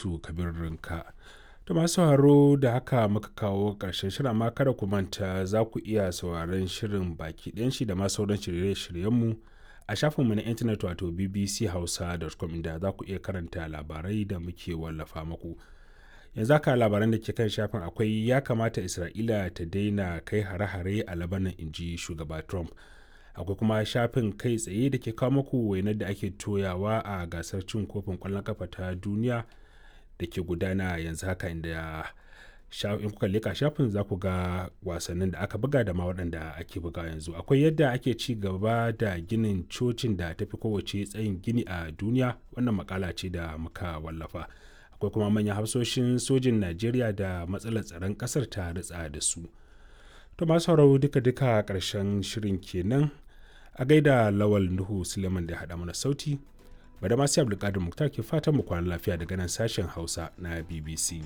Rabi'atu Kabir Rinka. To masu sauraro, da haka muka kawo ƙarshen shirin, amma kada ku manta za ku iya sauraron shirin baki ɗayan shi da ma sauran shirye-shiryenmu a shafinmu na intanet wato bbchausa.com, inda za ku iya karanta labarai da muke wallafa muku. Yanzu haka labaran da ke kan shafin akwai "Ya kamata Isra'ila ta daina kai hare-hare a Labanan," inji shugaba Trump. Akwai kuma shafin kai tsaye da ke kawo muku wainar da ake toyawa a gasar cin kofin kwallon kafa ta duniya da ke gudana yanzu haka, inda in kuka leka shafin za ku ga wasannin da aka buga da ma waɗanda ake buga yanzu. Akwai yadda ake ci gaba da ginin cocin da tafi kowace tsayin gini a duniya, wannan makala ce da muka wallafa. Akwai kuma manyan hafsoshin sojin Najeriya da matsalar tsaron ƙasar ta ritsa da su. To masu sauraro, duka-duka ƙarshen shirin kenan. A gaida Lawal Nuhu Suleiman da haɗa mana sauti. Bada masu Abdulkadir Muktar ke fatan mu kwana lafiya daga nan sashen Hausa na BBC.